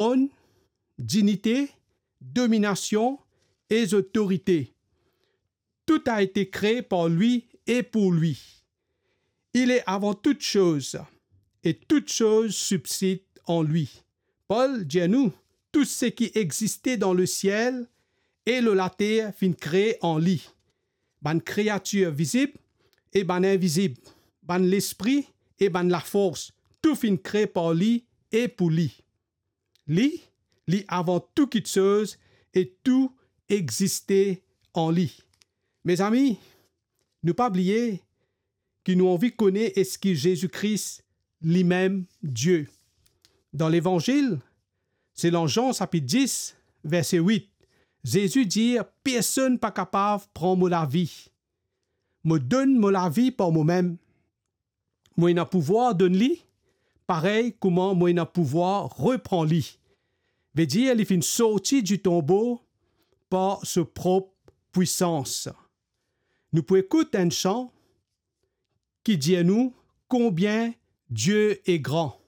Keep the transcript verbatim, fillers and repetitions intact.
tronn, dinite, dominasion e zotorite. Tout a été créé par lui et pour lui. Il est avant toutes choses, et toutes choses subsistent en lui. Pol dir nou, tou seki existe dan lesiel e lor later finn kree an li. Bann kreatir vizib e bann invizib, bann lespri e bann lafors, tou finn kree par li e pou li. Li, li avan tou kiksoz e tou existe an li. Mezami, nou pa bliye ki nou anvi kone eski Zezi Kris limem Die. Dan Levanzil, selon Zan sapit dis, verse wit, Zezi dir, "Personn pa kapav pran mo lavi. Mo donn mo lavi par momem. Mo ena pouvwar donn li, parey kouma mo ena pouvwar repran li." Vedir li finn sorti di tonbo par so prop pwisans. Nou pou ekout enn san ki dir nou konbien Die est grand.